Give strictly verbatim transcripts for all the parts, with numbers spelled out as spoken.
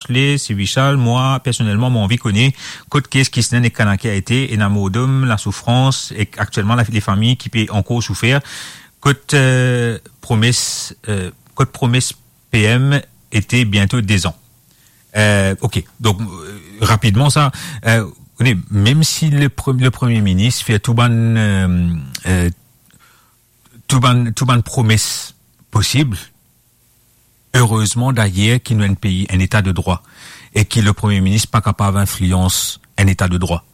Ashley, se Vishal. Mwa, personelman, mo anvi kone kot kes Kisnen ek Kanakia ete, ena mordom, lasoufrans, ek aktielman, la, lefami ki pe ankor soufer. Kot, eh, promes, eh, kot promes P M ete biento dezan. Eh, ok, donk, eh, rapidman sa, eh, ou kone, mem si le pre-, le Premie Minis fer tou bann, eh, eh, tou bann, tou bann promes posib, erezman dayer ki nou enn pei, enn eta de drwa, e ki le Premie Minis pa kapav inflians enn eta de drwa.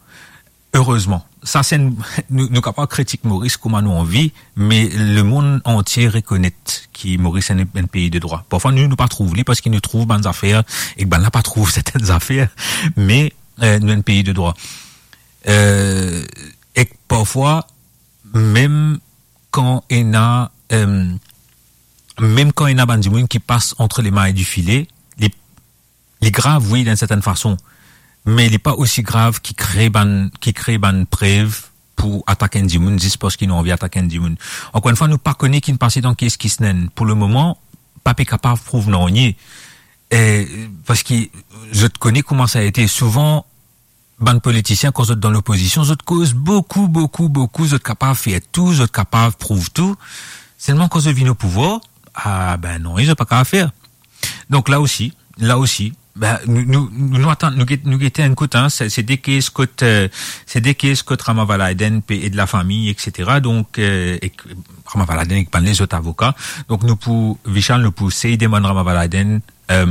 Erezman. Sa se enn, nou, nou kapav kritik Moris kouma nou anvi, me lemond antie rekonet ki Moris enn, enn pei de drwa. Parfwa nou, nou pa trouv li parski nou trouv bann zafer, ek bannla pa trouv sertenn zafer, me, eh, nou enn pei de drwa. Eh, ek parfwa, mem kan ena, eh, mem kan ena bann dimoun ki pas ant lemay di file, li, li grav, wi, dan enn sertenn fason, me li pa osi grav ki kre bann, ki kre bann prev pou atak enn dimoun zis parski nou anvi atak enn dimoun. Ankor enn fwa, nou pa kone ki'nn pase dan kes Kisnen. Pou lemoman, pa pe kapav prouv nanye. Eh, parski zot kone kouma sa ete. Souvan, bann politisien, kan zot dan lopozision, zot koz boukou, boukou, boukou, zot kapav fer tou, zot kapav prouv tou. Selman kan zot vinn o pouvwar, ah, be non, zot pa kapav fer. Donk la osi, la osi, be, nou, nou, nou, nou atann, nou get, nou gete enn kout, hein, se, se de kes kot, eh, se de kes kot Rama Vallaudin pe ed lafami, et cetera. Donk, eh, ek Rama Vallaudin ek bann lezot avoka. Donk nou pou, Vishal, nou pou sey demann Rama Vallaudin, eh,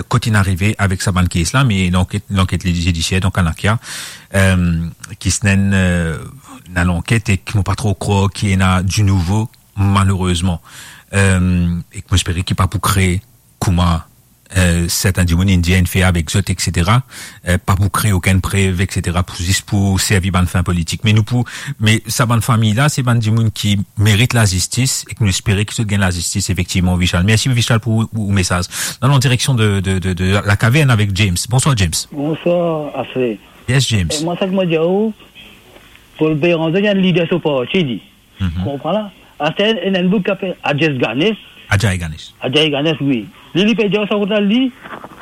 kot inn arive avek sa bann kes la, me lanket, lanket zidisier, donk Kanakia, eh, Kisnen, eh, ena lanket ek mo pa tro krwar ki ena dinouvo, malerezman. Eh, ek mo espere ki pa pou kre kouma, eh, serten dimoun inn dir inn fer avek zot, et cetera. Eh, pa pou kre okenn prev, et cetera, pou zis pou servi bann fin politik. Me nou pou, me sa bann fami la, se bann dimoun ki merit lazistis, ek nou espere ki zot gagn lazistis, efektivman, Vishal. Mersi, Vishal, pou, pou, pou mesaz. Nou al an direksion de, de, de, de Lakavern avek James. Bonswar, James. Bonswar, Ashley. Yes, James. Eh, mwa, sa ki mo dir ou, Paul Bérenger, li enn lider so parti, li. Mhm. Konpran la? Aster, ena enn boug ki apel Ajay Ganesh. Ajay Ganesh. Ajay Ganesh, wi. Li, li pe dir sa kot la, li,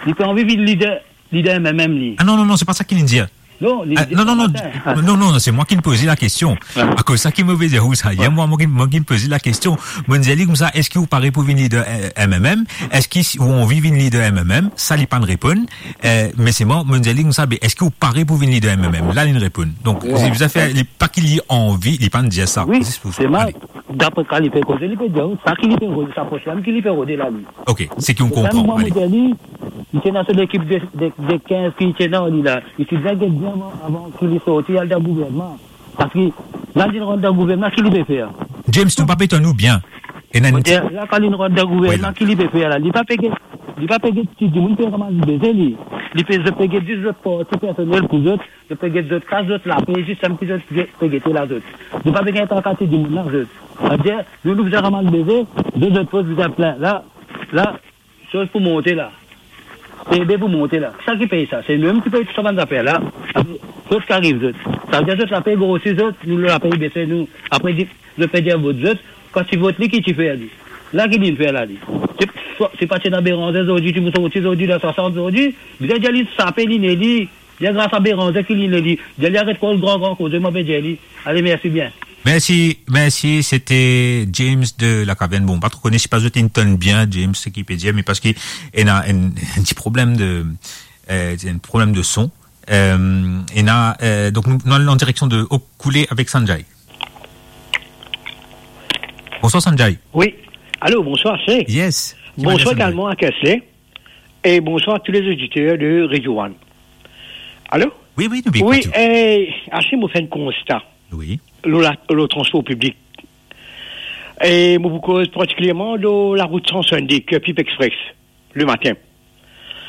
li pe anvi vinn lider, lider M M M, li. Ah non, non, non, se pa sa ki li dir. Non, li Ah, dir non, non, non, matin. Non, non, non, se mwa ki'nn poze lakestion. Ah. Akoz sa ki mo pe dir ou sa, yer, mwa, mwa ki'nn, mwa ki'nn poze lakestion. Mo'nn dir li koumsa, eski ou pare pou vinn lider, eh, M M M? Eski si ou anvi vinn lider M M M? Sa, li pa'nn reponn. Eh, me selman, mo'nn dir li koumsa, be, eski ou pare pou vinn lider M M M? La, li'nn reponn. Donk, wi, se bizin fer, li, pa ki li anvi, li pa'nn dir sa. Wi, zis pou sa. Selman, ale. Dapre sa li pe koze, li pe dir, sa ki li pe rode, sa program ki li pe rode la, li. Ok, seki ou konpran, mwa, ale. Mo dir li, li ti ena so lekip de, de, de kinz ki ti ena li la. Li ti bizin get bien avan, avan ki li sorti, al dan gouvernman. Parski la, li rant dan gouvernman, ki li pe fer? James, nou pa pe tann ou bien. Ena enn Mo dir, la, kan li rant dan gouvernman, wi, la. Ki li pe fer la? Li pa pe get, li pa pe get ki dimoun pe ramas beze, li. Li pe, zot pe get zis zot parti personel pou zot, zot pe get zot kas, zot lape, zis samem ki zot ge-, pe gete la, zot. Zot pa pe gagn traka ti dimoun la, zot. Savedir, nou, nou bizin ramas beze, zot, zot pos bizin plin. La, la, soz pou monte la. P I B pou monte la. Sa ki pey sa? Se nou mem ki pey tou sa bann zafer la. Zot ki ariv, zot. Savedir zot lape grosi zot, nou lape bese nou. Apre, di, zot pe dir vot zot. Kan ti vot li, ki ti fer li? La ki li'nn fer la, li. Se, se pa ti ena Bérenger zordi, ti pou sorti zordi, dan swasant zordi. Bizin dir li sape, li ne li. Li gras a Bérenger ki li ne li. Dir li aret koz gran, gran koze, mo pe dir li. Ale, mersi bien. Mersi, mersi, sete James de Lakavern. Bon, pa tro kone si pa zot inn tann bien, James, seki pe dir, me parski ena enn, enn ti problem de, eh, enn problem de son. Eh, ena, eh, donk nou, nou al an direksion de Okoulé avek Sanjay. Bonswar, Sanjay. Wi. Alo, bonswar, se. Yes. Bonswar egalman a Kesley. E bonswar a tou lezoditer de Radio One. Alo? Wi, wi, nou pe ekout ou. Wi, eh, Ashley, mo fer enn konsta. Wi. Lor la, lor transpor piblik. E mo pou koz partikilierman lor larout san swasannde, Curepipe Express, lematin.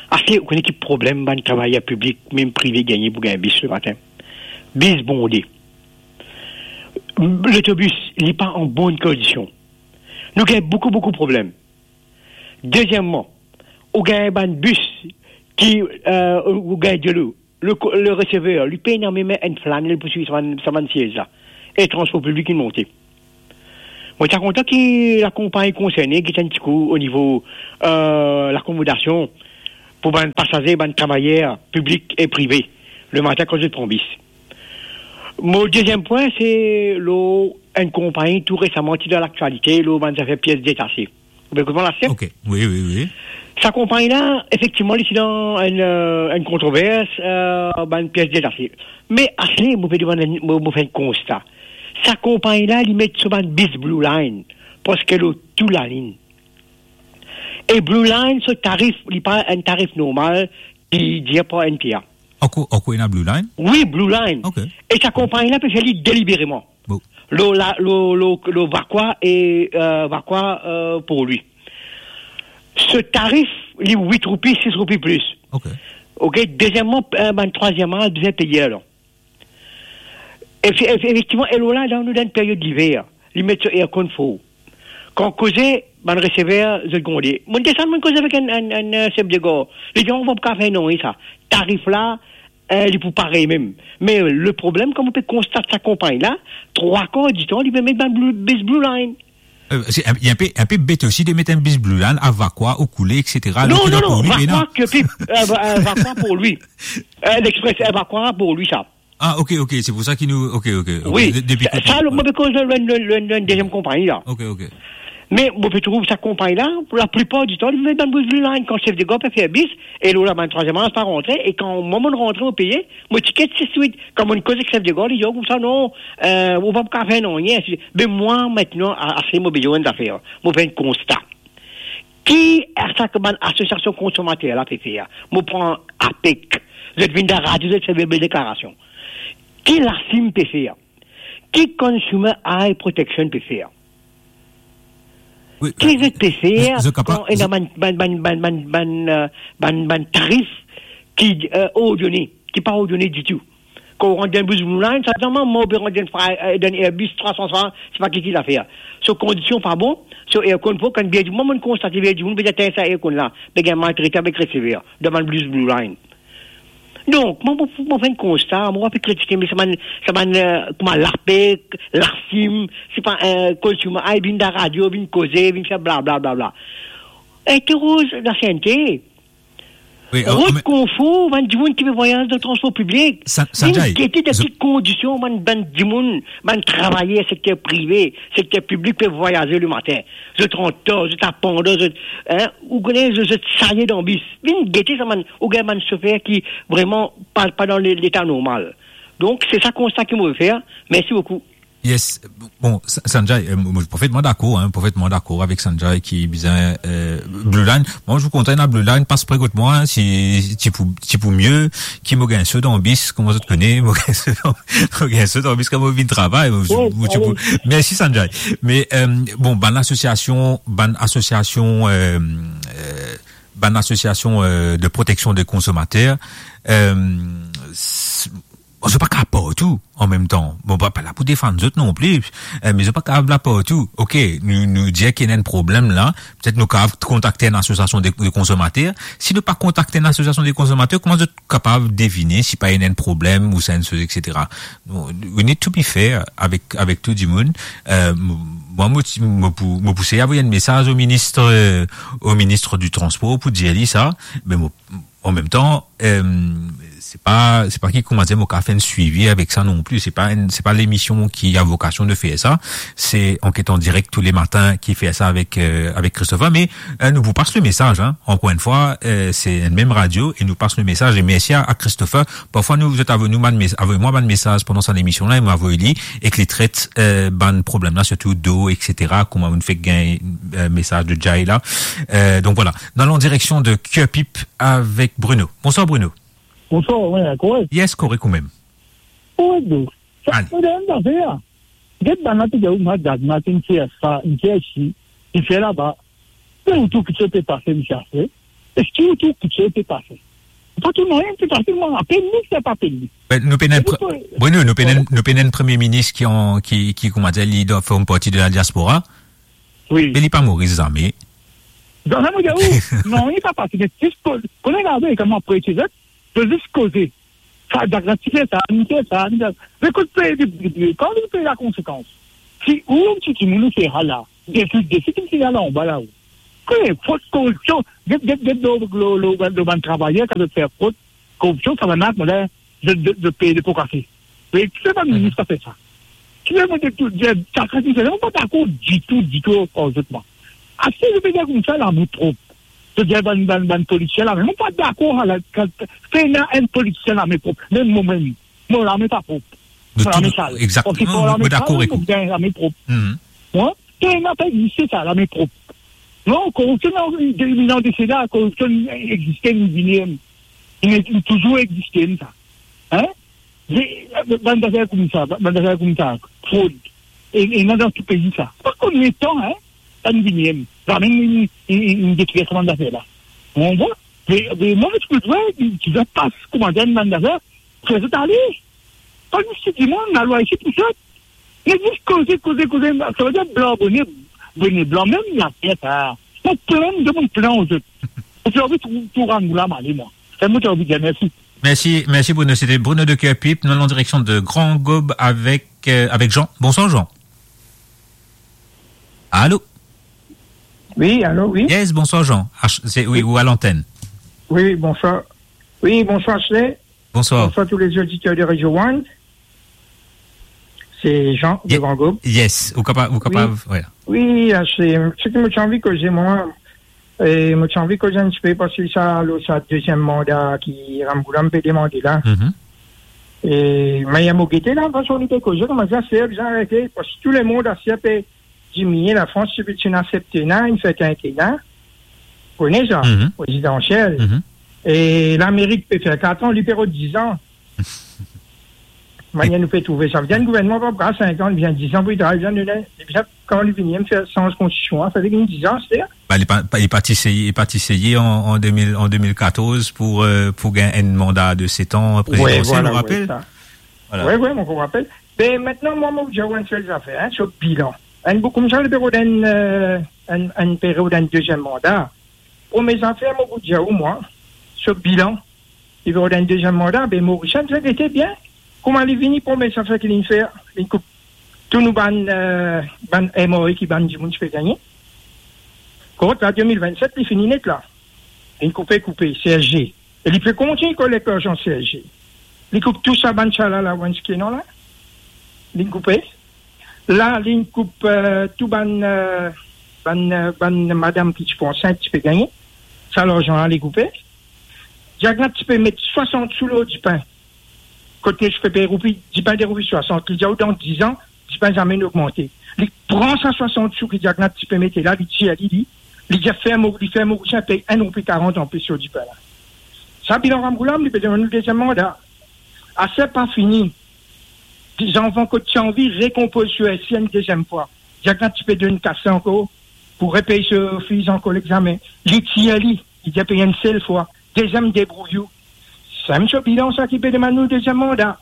Ashley, ou kone ki problem bann travayer piblik, mem prive, gagne pou gagn bis lematin? Bis bonde. Lotobis, li pa an bonn kondision. Nou gagn boukou, boukou problem. Dezieman, ou gagn bann bis ki, eh, ou gagn delo. Le ko-, le resever, li pena mem enn flanel pou swiv sa bann, sa bann siez la. E transpor piblik inn monte. Mo ti a kontan ki lakonpagni konserne get enn tikou o nivo, eh, lakomodasion. pou bann pasaze, bann travayer piblik e prive, lematin kan zot pran bis. Mo deziem pwin, se lor enn konpagni tou resaman ti dan laktialite, lor bann zafer pies detase. Ou pe konpran la, Seb? Ok, wi, wi, wi. Sa konpagni la, efektivman, li ti dan enn, eh, enn kontrovers, eh, bann pies detase. Me aster, mo pe demann, mo, mo fer enn konsta. Sa konpagni la, li met so bann bis Blue Line, preske lor tou lalinn. E Blue Line, so tarif, li pa enn tarif normal, ki dir par N P A. Ankor, ankor ena Blue Line? Wi, Blue Line. Ok. E sa konpagni la pe fer li delibereman. Bon. Lor la, lor, lor, lor Vacoas e, eh, Vacoas, eh, Port-Louis. So tarif, li wit roupi, sis roupi plis. Ok. Ok, deziem mwa, eh, bann trwaziem mwa, bizin peye la. Efe-, efe-, efektivman, e lor la, dan, nou dan enn period liver, li met so aircon for. Kan koze, bann resever, zot gronde. Mo desann, mo koze avek enn, enn, enn, eh, sef de gar. Li dir, "On va pa fer nanye sa. Tarif la, eh, li pou parey mem." Me le problem, kan mo pe konstat sa konpagni la, trwa kar ditan, li pe met bann Blue, bis Blue Line. Eh, se enn, enn pe, enn pe bet osi de met enn bis Blue Line a Vacoas, Coulée, et cetera. Non, non, non, Vacoas, eh, Va-, eh, Vacoas Port-Louis. Eh, L'Express, eh, Vacoas Port-Louis, sa. Ah, ok, ok, se pou sa ki nou, ok, ok, ok. Wi, de-, depi sa, kote, sa, wi. Mo pe koz lor enn, enn, enn, enn deziem konpagni la. Ok, ok. Me mo pe trouv sa konpagni la, pou laplipar ditan, li met bann bis Blue Line. Kan sef de gar pe fer bis, e lor la, bann trwaziem mwa pa rantre, e kan mwa, mo rantre, mo peye, mo tiket, se swit. Kan mo koz ek sef de gar, li dir, "Koumsa, non, eh, ou pa pou kapav fer nanye." Me mwa, aster, a-, aster mo bizin enn zafer, mo fer enn konsta. Ki sa ki bann asosiasion konsomater la pe fer? Mo pran APEC. Zot vinn dan radio, zot fer bel deklarasion. Ki LACIM pe fer? Ki Consumer Eye Protection pe fer? Wi, ki, eh, zot pe fer, zot, zot kapav, kan ena zot bann, bann, bann, eh, bann, bann tarif ki, eh, ordone, ki pa ordone ditou? Kan ou rant dan bis Blue Line, sa dir, mwa, mo pe rant dan, eh, dan Airbus trwa san, se pa ki ki lafer. So kondision pa bon, so aircon pa bon, kan bien dimoun, mo konstate bien dimoun, pe dir, "Atann, sa aircon la, pe gagn maltrete avek resever, dan bann bis Blue Line." Donk, mo, mo, mo fer enn konsta, mo pa pe kritike, me sa bann, sa bann, eh, kouma APEC, LACIM, se pa, eh, Consumer Eye, vinn dan radio, vinn koze, vinn fer bla, bla, bla, bla. Interoz la CNT. Wi, eh, Rod me Konfor, bann dimoun ki pe vwayaz dan transpor piblik. Sa-, vinn Sanjay, gete dan ki kondision bann, bann dimoun, bann travayer sekter prive, sekter piblik pe vwayaze lematin. Zot rant tar, zot apandan, zot, hein, ou kone, zot, zot saye dan bis. Vinn gete sa bann, ou gagn bann sofer ki vreman pa, pa dan le-, leta normal. Donk, se sa konsta ki mo pe fer. Mersi boukou. Yes. Bon, Sa-, Sanjay, eh, mo, mo parfetman dakor, hein, parfetman dakor avek Sanjay ki bizin, eh, Blue Line. Mwa, mo kontan ena Blue Line, pas pre kot mwa, hein, si, ti pou, ti pou mie, ki mo gagn so dan bis, kouma zot kone, mo gagn so dan, mo gagn so dan bis, kan mo vinn travay, mo, wi, mo ti pou, wi. Mersi, Sanjay. Me, eh, bon, bann asosiasion, bann asosiasion, eh, eh, bann asosiasion, eh, de proteksion de konsomater, eh, s-, Bon, zot pa kapav partou an mem tan. Bon, pa, pa la pou defann zot non pli, eh, me zot pa kapav la partou. Ok, nou, nou dir ki ena enn problem la, petet nou kapav kontakte enn asosiasion de, de konsomater. Si nou pa kontakte enn asosiasion de konsomater, kouma zot kapav devine si pa ena enn problem ou sa enn soz, et cetera? Nou, we need to be fair avek, avek tou dimoun. Eh, m-, mwa, mo ti, mo pou, mo pou sey avoy enn mesaz o minis, eh, o minis di transpor pou dir li sa, me mo, an mem tan, eh, se pa, se pa ki kouma dir mo kapav fer enn swivi avek sa non pli. Se pa enn, se pa lemision ki a vokasion de fer sa. Se Enquête en direct tous les matins ki fer sa avek, eh, avek Christopher. Me, eh, nou pou pas le mesaz, hein. Ankor enn fwa, eh, se enn mem radio e nou pas le mesaz. E mersi a, a Christopher. Parfwa nou, zot avoy nou bann mes-, avoy mwa bann mesaz pandan sa lemision la e mo avoy li, ek li tret, eh, bann problem la, sirtou do, et cetera. Kouma nou fek gagn, eh, mesaz de Jay la. Eh, donk vwala. Nou al an direksion de Curepipe avek Bruno. Bonswar, Bruno. Bonswar, wi, korek? Yes, korek ou mem. Korek, donk. Sa, ale. Mo dir enn zafer, get bann la pe dir, "Mwa, gad, mwa, inn fer sa, inn fer si, inn fer laba." Me ou trouv kiksoz pe pase, misie Alfred? Eski ou trouv kiksoz pe pase? Pa trouv nanye pe pase, mwa, apel li, sa pa apel li. Ben, nou pena enn pre-, Bruno, nou pena enn, nou pena enn premie minis ki an, ki, ki, kouma dir, li dan, form parti de la diaspora. Wi. Me li pa Moris zame. Zame, mo dir ou, non, li pa pase, me zis ko-, kouma gade, kouma prezident, zis koze. Sa, Jack la ti fer sa, li fer sa, li fer sa. Me kot peye, kan li peye lakonsekans? Si ou, ti dimoun ou fer sa la, depi, depi ki ti la anba la, ou. Ki fot, koripsion, get, get, get, lo, lo, lo, lo bann travayer, kan zot fer fot, koripsion, sa bann la, mo dir, zot, zot, zot pey de po kafe. Me ki bann minis ki fer sa? Ki fer mo dir tou, dir, sa, sa, sa, mo pa dakor ditou, ditou ar zot, mwa. Aster, zot pe dir koumsa, lame prop. Zot dir bann, bann, bann polisie lame, mo pa dakor, ala, kan, pena enn polisie lame prop, mem mo mem. Mo lame pa prop. Mo lame sal. Exakteman, mo dakor ek ou. Mo bien lame prop. Mwa, pena pa egziste sa, lame prop. Non, koripsion, non, de, non, de sela, koripsion egziste, li vini, li, li touzour egziste, sa. Hein? Bann zafer koumsa, bann zafer koumsa, frod. E, e ena dan tou pei sa. Pa konbien tan, hein? Sa nou vini, zame nou, nou, nou, nou detrir sa bann zafer la. Ou konpran? Me, me mwa, mo ti pe dir, ti, ti pas koumadir bann zafer, fer zot ale. Pa zis dimoun, lalwa isi pou zot. Me zis koze, koze, koze, sa ve dir blan, bone, bone blan, mem later sa. Mo plenn, mo plenn zot. Mo ti anvi tou, tou rann la, mo ale, mwa. Sa mo ti anvi dir, mersi. Mersi, mersi Bruno. C'était Bruno de Kerpip. Nous allons en direction de Grand Gaube avec, euh, avec Jean. Bonsoir Jean. Allô? Oui, allô, oui. Yes, bonsoir Jean. Ach-, c'est, oui, ou à l'antenne. Oui, bonsoir. Oui, bonsoir Ashley. Bonsoir. Bonsoir tous les auditeurs de Radio One. C'est Jean de Ye-, Grand Gaube. Yes, ou kapav, ou kapav, wi. Wi, ah, se, seki mo ti anvi koze, mwa, e mo ti anvi koze enn tipe, parski sa, lor sa deziem manda ki Ramgoolam pe demande la. Mhm. E, me mo gete la, fason li pe koze, kouma sa, se bizar, arete, parski tou lemond asier pe diminie, Lafrans ti, ti inn asepte, inn fer kintena. Kone sa, mhm, prezidansiel. Mhm. E Lamerik pe fer kat an, li pe rod diz an. Manier nou pe trouve sa. Vinn gouvernman pa pran sink an, li bizin diz an pou li travay, bizin donn, li bizin, kan li vini, fer sanz konstitision, sa vinn diz an, se... Ba, li pa, pa, li pa ti seye, li pa ti seye an, an de mil, an de mil katorz pou, euh, pou gagn enn manda de set an, prezidansiel, wi, vwala, ou rapel? Wi, sa. Vwala. Wi, wi, mo rapel. Be, aster, mwa, mo dir ou enn sel zafer, hein, so bilan. Enn boug koumsa, li pe rod enn, euh, enn, enn pe rod enn deziem manda. Premie zafer, mo pou dir ou, mwa, so bilan, li pe rod enn deziem manda, be, Morisien, zot gete bien. Kouma li vini, premie zafer ki li fer, li koup tou nou bann, euh, bann M R A ki bann dimoun ti pe gagne. Kot la, de mil vennset, li fini net la. Li koupe, koupe, C S G. E li pe kontign kolekt larzan C S G. Li koup tou sa bann sala la, bann siki non la. Li koupe. La, li koup, euh, tou bann, euh, bann, euh, bann madam ki ti pou ansint, ti pe gagne. Sa larzan la, li koupe. Diagna ti pe met swasant sou lor dipin. Kot nou ti pe pey roupi, dipin de roupi swasant. Li dir ou dan diz an, dipin zame inn ogmante. Li pran sa swasant sou ki Diagna ti pe mete la, li tir li, li, li dir fer mo, li fer Morisien pey enn roupi karant anplis so dipin la. Sa bilan Ramgoolam, li pe demann nou deziem manda. Aster pa fini. Dizan avan kot ti anvi rekonpoz so esi enn deziem fwa. Diagna ti pe donn kas ankor pou repey so fiz ankor lexame. Li tir li, li dir pey enn sel fwa. Deziem debrouy ou. Sa mem so bilan sa ki pe demann nou deziem manda.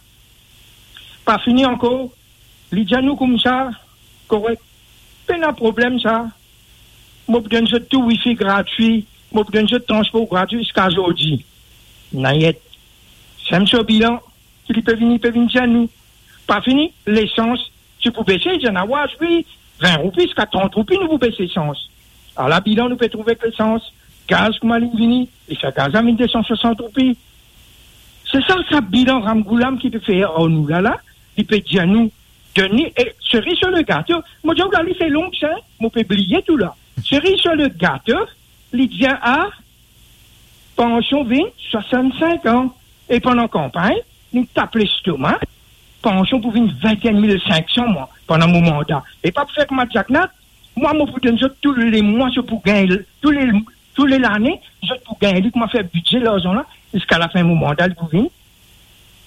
Pa fini ankor, li dir nou koumsa, korek, pena problem sa, mo pou donn zot tou wifi gratwi, mo pou donn zot transpor gratwi ziska zordi. Nayet. Sa mem so bilan ki li pe vini, pe vinn dir nou. Pa fini, lesans, ti pou bese, li dir nou, wi, vin roupi ziska trant roupi nou pou bes lesans. Ala bilan nou pe trouve ek lesans, gaz kouma li vini, li fer gaz la vinn de san swasant roupi. Se sa, sa bilan Ramgoolam ki pe fer ar nou la, la, li pe dir nou, donn li, e seri sir le gato, mo dir ou la, li fer long sa, mo pe bliye tou la. Seri sir le gato, li dir, a, pansion vinn swasant-sink an. E pandan kanpagn, nou tap lestoma, pansion pou vinn vinteenn mil sinksan, mwa, pandan mo manda. E pa pou fer kouma Diagna, mwa, mo pou donn zot tou le mwa, zot pou gagn, tou le, tou le lane, zot pou gagn li, kouma fer bidze larzan la, ziska lafin mo manda, li pou vinn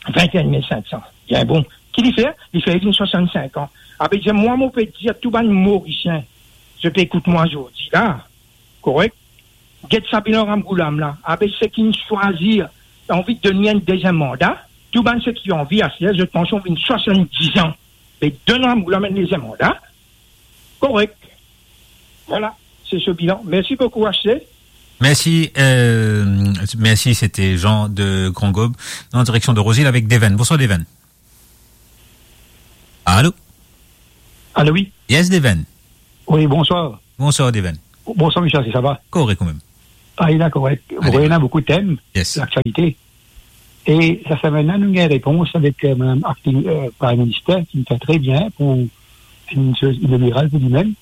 vinteenn mil sinksan. Bien bon. Ki li fer? Li fer vinn swasant-sink an. Ape dir, mwa, mo pe dir tou bann Morisien, zot pe ekout mwa zordi la, korek? Get sa bilan Ramgoolam la. Abe seki inn swazir, anvi donn li enn deziem manda, tou bann seki anvi asier, zot pansion vinn swasanndiz an. Be donn Ramgoolam enn deziem manda. Korek. Vwala, se so bilan. Mersi boukou, H C. Merci, euh, merci, c'était Jean de Grand Gaube, en direction de Roseville avec Deven. Bonsoir, Deven. Allô? Allô, oui. Yes, Deven. Oui, bonsoir. Bonsoir, Deven. Bonswar, misie, sava? Korek, ou mem? Ah, li la korek. Bon, ena boukou tem laktialite. E sa semenn la, nou gagn repons avek, eh, madam akting, eh, Prime Minister, ki fer tre bien pou enn soz inogiral pou limem,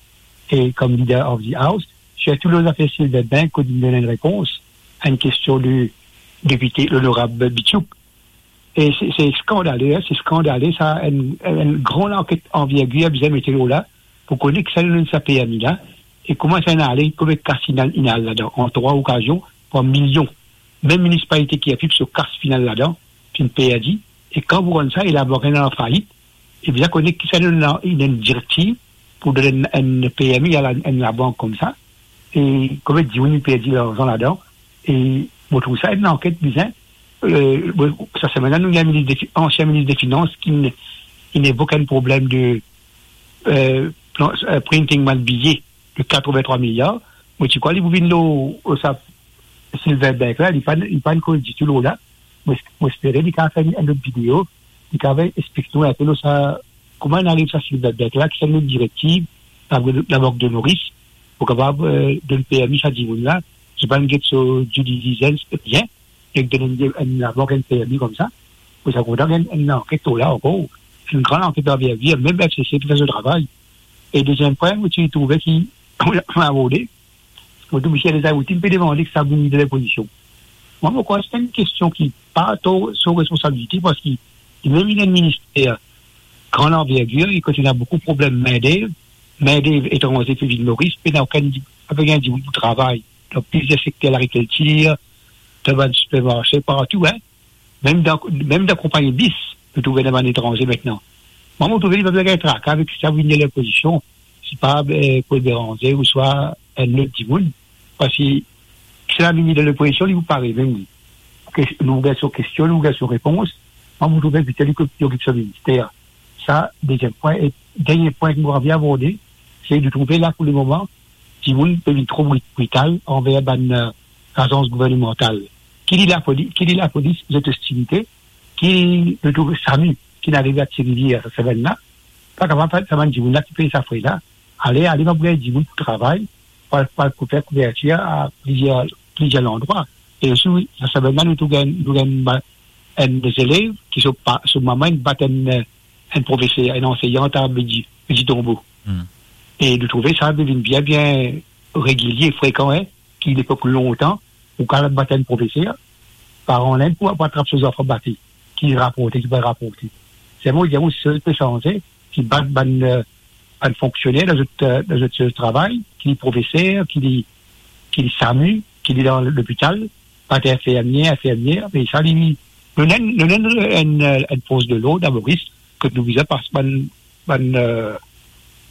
e kom Leader of the House, sirtou lor zafer Silver Bank, kot li donn enn repons a enn kestion de depite, lonorab Bichouk. E se, se skandale, se skandale, sa, enn, enn gran lanket anvergir bizin mete lor la, pou kone kisannla donn sa permi la, e kouma sa inn ale, konbien kas inn al, inn al ladan, an trwa okazion, par milion. Mem minisipalite ki ape so kas finn al ladan, finn perdi, e kan pou rann sa, e labank inn al an fait, e bizin kone kisannla donn la, inn donn direktiv pou donn enn, enn permi a la, enn labank koumsa, e konbien dimoun inn perdi larzan ladan, e mo trouv sa enn lanket bizin, eh, bon, sa semenn la, nou gagn minis de fi-, ansien minis de finans ki inn, ki inn evok enn problem de, eh, plan, eh, printing bann biye de katrevintrwa miliar. Mo ti krwar li pou vinn lor, lor sa Silver Bank la, li pa, li pa'nn koz ditou lor la. Mo, mo espere li kapav fer enn lot video, li kapav explik nou enpe lor sa, kouma inn ariv sa Silver Bank la, ki sa enn direktiv, labank, labank de Moris, pou kapav, eh, donn permi sa dimoun la, zot pa'nn get so due diligence bien, e donn enn, enn labank enn permi koumsa, pou sa kontan gagn enn lanket lor la ankor, enn gran lanket anvergir, mem F C C pou fer so travay. E deziem pwin, mo ti trouve ki, aborde, mo trouv misie Dezarrouti, pe demande ki sa vinn dan lepozision. Mwa, mo krwar se enn kestion ki pa tro so responsabilite, parski li mem li ena enn minister gran anvergir, e kot ena boukou problem mindev, mindev etranze pe vinn Moris, pena okenn, pa pe gagn dimoun pou travay. Dan plizier sekter, lagrikiltir, dan bann sipermarse, partou, hein. Mem dan, mem dan konpagni bis, nou trouve ena bann etranze aster. Mwa, mo trouve li pa bizin gagn traka avek sa vinn lepozision, sipa, eh, Paul Bérenger ouswa enn lot dimoun, parski si sa vinn dan lepozision, li pou pare mem li. Ke, nou gagn so kestion, nou gagn so repons, mwa, mo trouve pito li ki okip so minister. Sa, deziem pwin. E dernie pwin ki mo anvi aborde, se nou trouve la pou lemoman, dimoun pe vinn tro bri-, brital anver bann, eh, lazans gouvernemantal. Ki li lapoli-, ki li lapolis, zot ostilite, ki nou trouve SAMU, ki inn arive a Ti Rivier sa semenn la, pa kapav fer sa bann dimoun la ki pey sa fre la, ale, ale, pa pou gagn dimoun pou travay, pou al, pou al pou fer kouvertir a plizier, plizier landrwa. E osi, wi, sa semenn la, nou tou gagn, nou gagn ba-, enn zelev ki so pa-, so mama inn bat enn, eh, enn profeser, enn ansenyant a Petit, Petit Tombeau. Hmm. E nou trouve sa pe vinn bien, bien regilie, frekan, hein, ki lepok lontan, ou kapav bat enn profeser, paran la pou, pou atrap so zanfan bate, ki raporte, ki pa raporte. Selman, mo dir, si sa pe sanze, ki bat bann, eh, bann fonksioner dan zot, eh, dan zot, zot travay, ki li profeser, ki li, ki li SAMU, ki li dan lopital, bat infirmie, infirmier, me sa li, nou ena, nou ena enn, enn, eh, enn fors de lord a Moris, kot nou bizin pas bann, bann, eh,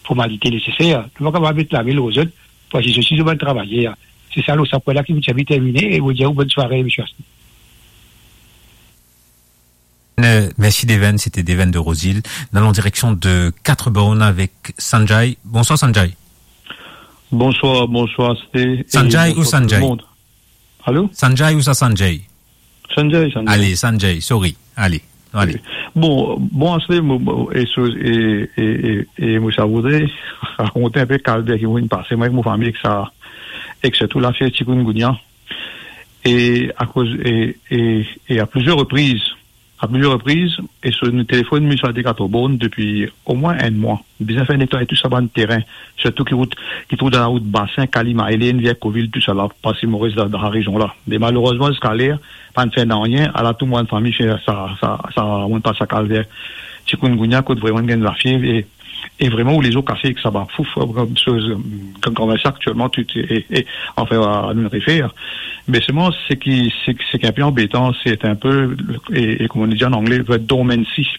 formalite neseser. Nou pa kapav met lame lor zot, pou asize osi zot bann travayer. Se sa, lor sa pwin la ki mo ti anvi termine, e mo dir ou bonn sware, misie Asni. Euh, merci Deven, c'était Deven de Roseville. Nous allons en direction de Quatre-Bornes avec Sanjay. Bonsoir Sanjay. Bonsoir, bonsoir, Asni, et Sanjay ou bonsoir tout le Sanjay? Monde. Allô? Sanjay ou sa Sanjay? Sanjay, Sanjay. Allez, Sanjay, sorry. Allez, allez. Bon, bon, Asni, mo, mo, e so, e, e, e, e mo sa voudre rakont enn pe kalver ki mo finn pase, mwa ek mo fami, ek sa, ek sirtou lafer chikungunya. E akoz, e, e, e a plizier repriz, a plizier repriz, e so nou telefonn misie Deven Quatre-Bornes depi omwin enn mwa. Bizin fer netway tou sa bann terin, sirtou ki rout, ki trouv dan larout Basin, Kalima, Elene, Vercoville, tousala, parski mo res dan, dan sa rezion la. Me malerezman, ziska ler, pa'nn fer nanye, ala tou mo bann fami fer sa, sa, sa, mo pas sa kalver chikungunya, kot vreman gagn lafiev, e, e vreman ou lezot kase ek sa bann fouf, euh, comme chose, euh, comme, comme ça actuellement, tu, tu, e, e, enfin, euh, nou refer. Me selman, seki, seki, seki enn pe anbetan, se enn pe, e, e kouma nou dir an angle, the dormancy.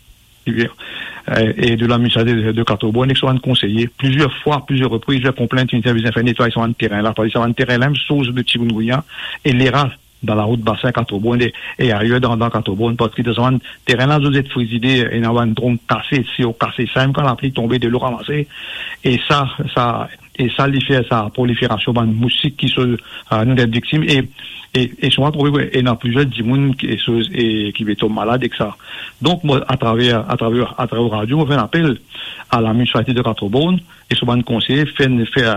E, e de la misie Deven, Deven Quatre-Bornes, ek so bann konseye, plizier fwa, plizier repriz, plizier konplint, inn dir bizin fer netway sa bann terin la, parski sa bann terin la mem source de chikungunya, e lera dan larout Basin Quatre-Bornes e, e ayer dan, dan Quatre-Bornes, parski dan sa bann terin la, zot zet frizidé, ena bann drom kase, sio kase, sa mem kan lapli tonbe, delo ramase, e sa, sa, e sa li fer sa proliferasion bann mousik ki so, a, nou dan viktim, e, e, e so trouve ki ena plizier dimoun ki, e so, e ki pe tom malad ek sa. Donk, mwa, atraver, atraver, atraver radio, mo fer enn apel a la municipalité de Quatre-Bornes, e so bann konseye, fer, fer,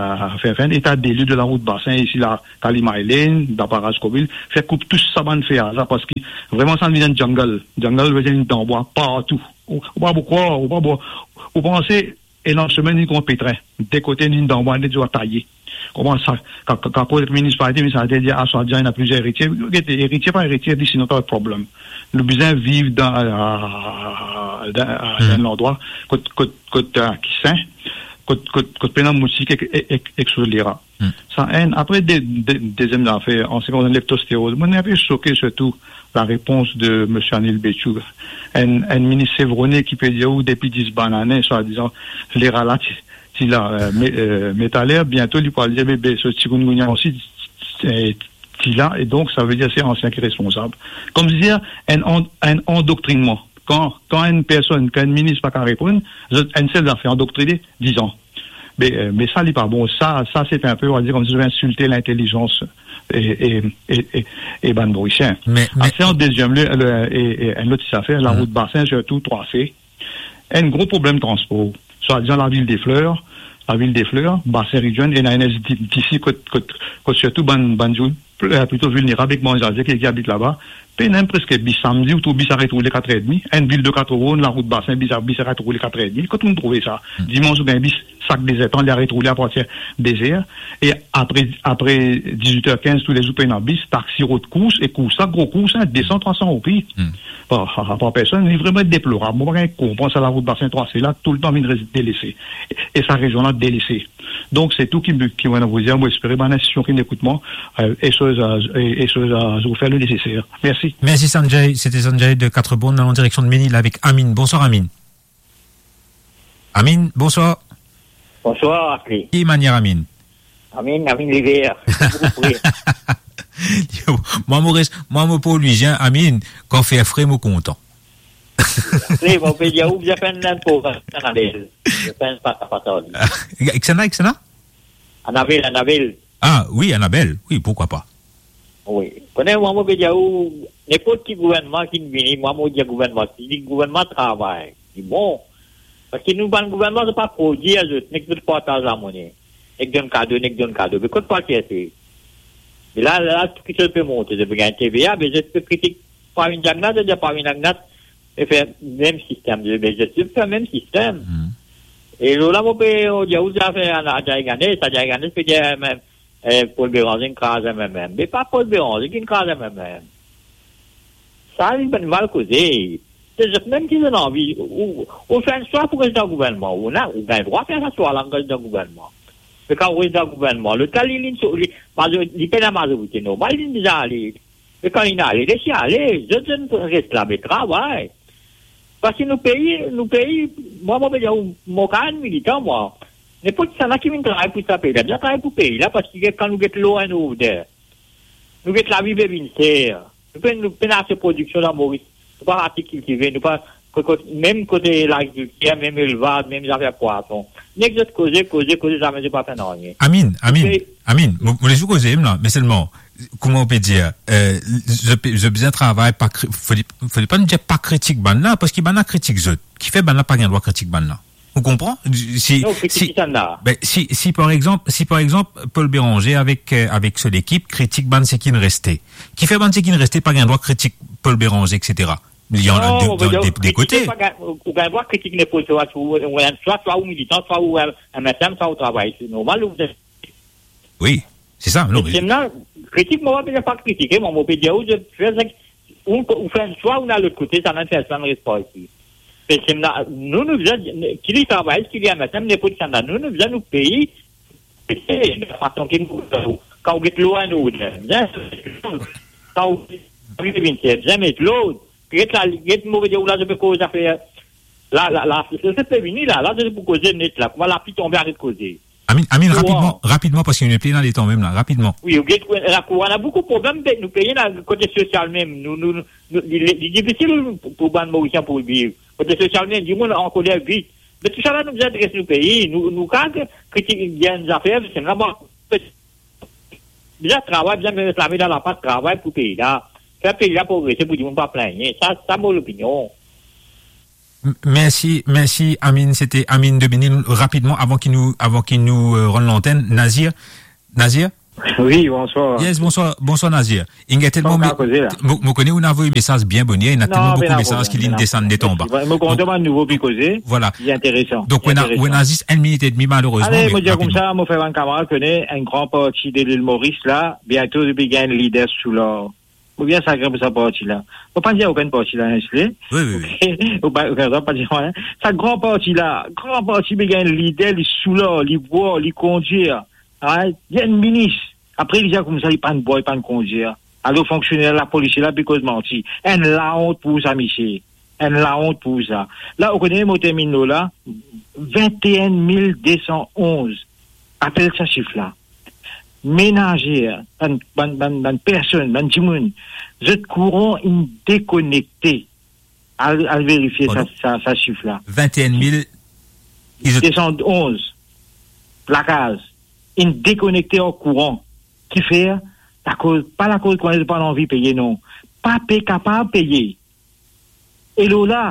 fer, fer enn eta de lie de la rout Basin, isi la, Kalimaylen, dan paraz Kobil, fer koup tou sa bann fer la, parski vreman sa vinn enn jungle. Jungle, vinn dan bwa partou. Ou, ou pa pou krwar, ou pa pou, ou panse, ena semin, ni kouma petrin. De kote, ni dan bwa, ni dwa taye. Kouma sa, ka, ka, ka koz ek minisipalite, minisipalite dir, "Ah, swadizan, ena plizier eritie." Gete, eritie, pa eritie, li, sinon, ta problem. Nou bizin viv dan, a, dan, a, Hmm. dan landrwa kot, kot, kot, a, ki sin, kot, kot, kot pena mousik ek, ek, ek, ek so lera. Hmm. Sa enn. Apre, de, de, deziem zafer, an se ki konsern leptosteroz, mo enn pe soke sirtou larepons de Misie Anil Bechoo, enn, enn minis Sevroné ki pe dir ou depi dis bann ane, swadizan, lera la ti, ti la, e, me, e, metaler, biento li pou al dir, be, be, so chikungunya osi, e, ti la, e donk, savedir se ansien ki responsab. Koumsi dir, enn an-, enn andoktrinman. Kan, kan enn personn, kan enn minis pa kapav reponn, zot enn sel zafer, andoktrine, dizan. Me, e, me sa, li pa bon. Sa, sa, se enpe, on va dire, koumsi zot insilte lintelizans e, e, e, e, e bann Morisien. Me, me Apre, an deziem lie, le, e, e, enn lot zafer, la Hmm. rout Basin, sirtou trwa C, enn gro problem transpor. Swadizan lavil de Fler, lavil de Fler, Basin Region, ena enn S D T C kot, kot, kot sirtou bann, bann dimoun pl-, e, plito vilnerab ek manzazir ki, ki abit laba. Pena mem preske bis. Samdi, ou trouv bis aret roule kat er edmi. Enn vil de Quatre-Bornes, larout Basin, bis a, bis aret roule kat er edmi. Kot ou trouve sa? Hmm. Dimans, ou gagn bis sak dezer tan, li aret roule apartir dezer. E apre, apre dizwit er kinz, toulezour pena bis, taxi rod kours, e kours la, gro kours, en, de san, trwa san roupi. Hmm. Par, par, par personn, li vreman deplorab. Mo pa gagn konpran sa, larout Basin trwa C la, toultan vinn res-, delese. E sa rezion la delese. Donk, se tou ki, ki mo ena pou dir. Mo espere bann institision ki ekout mwa, e, e so, e, e so, e, zot fer le neseser. Mersi. Mersi, Sanjay. Sete Sanjay de Quatre-Bornes. Nou al an direksion de Menil avek Amine. Bonswar, Amine. Amine, bonswar. Bonswar, Asli. Ki manier, Amine? Amine, Amine Liver. Boukou pre. Mwa, mo res, mwa, mo pou lwizien, Amine, kan fer fre, mo kontan. Fre, mo pe dir ou, bizin fer enn, enn progranm, enn analiz. Bizin fer enn pata pata li. Ek sa ena, ek sa ena? Annabelle, Annabelle. Ah, wi, Annabelle. Wi, pourquoi pas. Wi. Kone, mwa, mo pe dir ou, nenport ki gouvernman ki vini, mwa, mo dir gouvernman, si li gouvernman travay, li bon. Parski nou bann gouvernman, zot pa prodir zot, nek zot partaz lamone. Nek donn kado, nek donn kado. Me kot pa kete? Me la, la, tou ki zot pe monte, zot pe gagn T V A, me zot pe kritik Pravin Jagannath, zot dir Pravin Jagannath, e fer mem sistem, me zot, zot fer mem sistem. Hmm. E lor la, mo pe, o, dir ou, zafer a, a Djariganes, a Djariganes pe dir, mem, e, Paul Bérenger inn kraz M M M. Me pa Paul Bérenger ki inn kraz M M M. Sa, li bann mal koze. Se zot mem ki donn anvi. Ou, ou fer enn swa pou res dan gouvernman. Ou ena, ou gagn drwa fer sa swa la, res dan gouvernman. Me kan ou res dan gouvernman, lot la, li, li, li, mazori-, li pena mazorite normal, li deza ale. Me kan li ale, les li ale. Zot, zot res la, me travay. Parski nou pei, nou pei, mwa, mo pe dir ou, mo kapav enn militan, mwa. Nenport kisannla ki vinn travay pou sa pei la, bizin travay pou pei la, parski kan nou get law and order, nou get lavi pe vinn ser. Nou pe, nou pena ase prodiksion dan Moris. Nou pa ase kiltive, nou pa, kot, kot, mem kote lagrikiltir, mem elvaz, mem zafer pwason. Nek zot koze, koze, koze, zame zot pa fer nanye. Amine, Amine, Amine, mo, mo les ou koze, mem la, me selman, kouma ou pe dir, e, zot pe, zot bizin travay, pa kri-, fode, fode pa nou dir pa kritik bann la, parski bann la kritik zot. Kifer bann la pa gagn drwa kritik bann la? Ou konpran? Si, Non, kritik si, kisannla? Ben, si, si par exanp, si par exanp, Paul Bérenger avek, e, avek so lekip kritik bann seki inn reste, kifer bann seki inn reste pa gagn drwa kritik Paul Bérenger, et cetera? Il y en a Non, de, mo pe dir ou, de, de kritik kote. Pa gagn, ou, ou gagn drwa kritik nenport swa, swa ou, ou, swa, swa ou militan, swa ou, e, M S M, swa ou travay. Se normal, ou Wi, se sa, non, me Sistem la, kritik, mo pa bizin pa kritike, mwa, mo pe dir ou, zot fer sa, ou, ou fer enn swa, ou ena lot kote, sa, nou fer sa, nou res pa isi. Sistem la, nou, nou bizin, ki li travay, ki li M S M, nenport kisannla, nou, nou bizin nou pei, fason ki nou, kan ou get law and order, bizin, kan ou arive vinn, bizin met lord, get la, get mo pe dir ou la, zot pe koz zafer, la, la, la, se, se pe vini la, la, se pou koze net la, kouma lapli tonbe, aret koze. Amine, Amine, Bon. rapidman, rapidman, parski nou pena letan mem la, rapidman. Wi, ou get, lakour, ena boukou problem, be, nou pei la, kote sosial mem, nou, nou, nou, li, li, li difisil pou, pou bann Morisien pou viv. Kote sosial mem, dimoun ankoler vit. Me tousala nou bizin adres nou pei, nou, nou ka ki, ki ti gagn zafer, se la, bon, bizin travay, bizin met lame dan lapat, travay pou pei la. Fer pei la progrese, pou dimoun pa pligne. Sa, sa mo lopinion. M-, mersi, mersi, Amine. Sete Amine de Menil. Rapidman, avan ki nou, avan ki nou, euh, rann lantenn, Nazir. Nazir? Wi, bonswar. Yes, bonswar, bonswar, Nazir. Inn gagn telman, mo, mo kone ou inn avoy mesaz bien boner, ena telman boukou mesaz ki linn desann net anba. Mo kontan bann nouvo pe koze. Donk, li interesan. Donk, ou ena, ou ena zis enn minit edmi, malerezman. Ale, mo dir koumsa, mo fer bann kamarad kone enn gran parti de Lil Moris la, biento li pe gagn lider Soulard. Mo bien sagrin pou sa parti la. Mo pa dir okenn parti la, hein, Ashley. Wi, wi, wi. Okenn, pa dir, hein. Sa gran parti la, gran parti pe gagn lider, li Soulard, li bwar, li kondir. Hein, li enn minis. Apre, li dir koumsa, li pa'nn bwar, li pa'nn kondir. Alor, fonksioner lapolis la, pe koz manti. Enn laont pou sa, misie. Enn laont pou sa. La, ou kone, mo terminn la, vinte et un mille deux cent onze. Apel sa sif la. Menazer, bann, bann, bann, bann personn, bann dimoun, zot kouran inn dekonekte. Al, al verifie sa, sa, sa sif la. Vinte et un mille, ils ont deux cent onze lakaz inn dekonekte ar kouran. Kifer? Lakoz, pa lakoz kouran, pa anvi peye, non. Pa pe kapav peye. E lor la,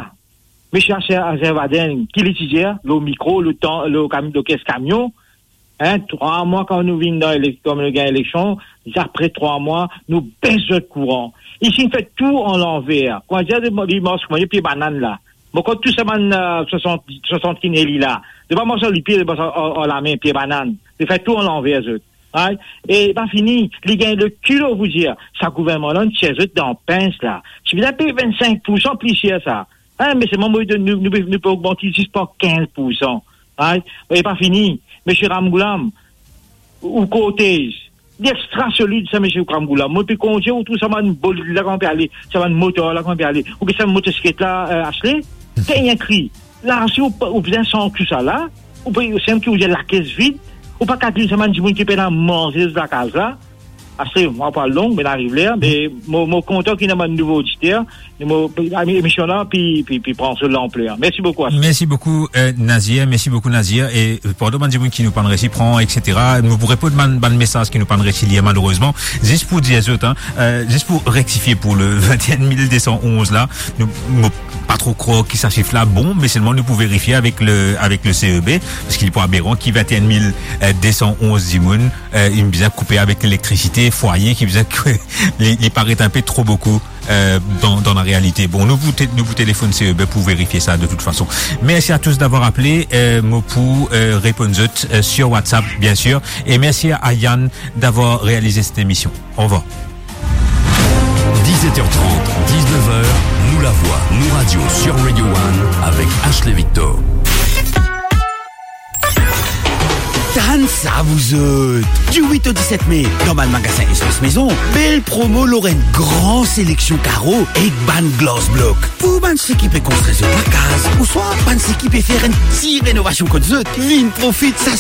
misie Azer-, Azerbaden, ki li ti dir, lor mikro, lor tan, lor kam-, lor kes kamion, hein, trwa mwa kan nou vinn dan elek-, kan nou gagn eleksion, apre trwa mwa, nou bes zot kouran. Isi, nou fer tou an lanver. Kouma dir, li, li mars kouma pie banann la. Mo konn tou sa bann, euh, swasant, swasant kinn eli la. Li pa mars ar lipie, li mars ar, ar, ar lame, pie banann. Li fer tou an lanver, zot. Right? E pa fini, li gagn lekilo pou dir, sa gouvernman la, nou tir zot dan pins la. Ti bizin pey vennsenk poursan pli ser sa. Hein, me selman, mo, nou, nou, nou pe ogmant li zis par kinz poursan. Right? E pa fini, misie Ramgoolam, ou kortez, li extra solid sa, misie Ramgoolam. Mo pe kondir, ou trouv sa bann bolid la, kan pe ale, sa bann motor la, kan pe ale, ou ki sa motosiklet la, euh, Ashley, dernie kri. La, si ou pa, ou bizin santi tousala, ou pe, se mem ki ou dir lakes vid, ou pa kalkil sa bann dimoun ki pena manze lakaz la. Ashley, mo pa long, me nou ariv ler, me mo, mo kontan ki ena bann nouvo oditer, mo, emision la, pi, pi, pi pran so lanpler. Mersi boukou, Ashley. Mersi boukou, euh, Nazir, mersi boukou, Nazir, e, euh, pardon, bann dimoun ki nou pa'nn resi pran, et cetera. Nou pou reponn bann, bann mesaz ki nou pa'nn resi lir, malerezman. Zis pou dir zot, hein, euh, zis pou rektifie pou le vinte et un mille deux cent onze la, nou, mo pa tro krwar ki sa sif la bon, me selman nou pou verifie avek le, avek le C E B, parski li pou aberan ki vinte et un mille deux cent onze dimoun, euh, inn bizin koupe avek lelektrisite, fwaye ki bizin, li, li paret inpe tro boukou, euh, dan, dan larealite. Bon, nou pou te-, nou pou telefonn C E B pou verifie sa de tout fason. Merci à tous d'avoir appelé, euh, mo pou, euh, reponn zot, euh, sur WhatsApp, bien sûr. Et merci à Yann d'avoir réalisé cette émission. Au revoir. Dix-sept heures trente, dix-neuf heures, Nou Lavwa, Nou Radio sur Radio One avec Ashley Victor. Tann sa, vous autres. Du huit au dix-sept mai, dan bann magasin Espace Maison, bel promo lor enn gran seleksion karo ek bann glass block. Pou bann seki pe konstrir zot lakaz, ouswa bann seki pe fer enn ti renovasion kot zot, vinn profit sa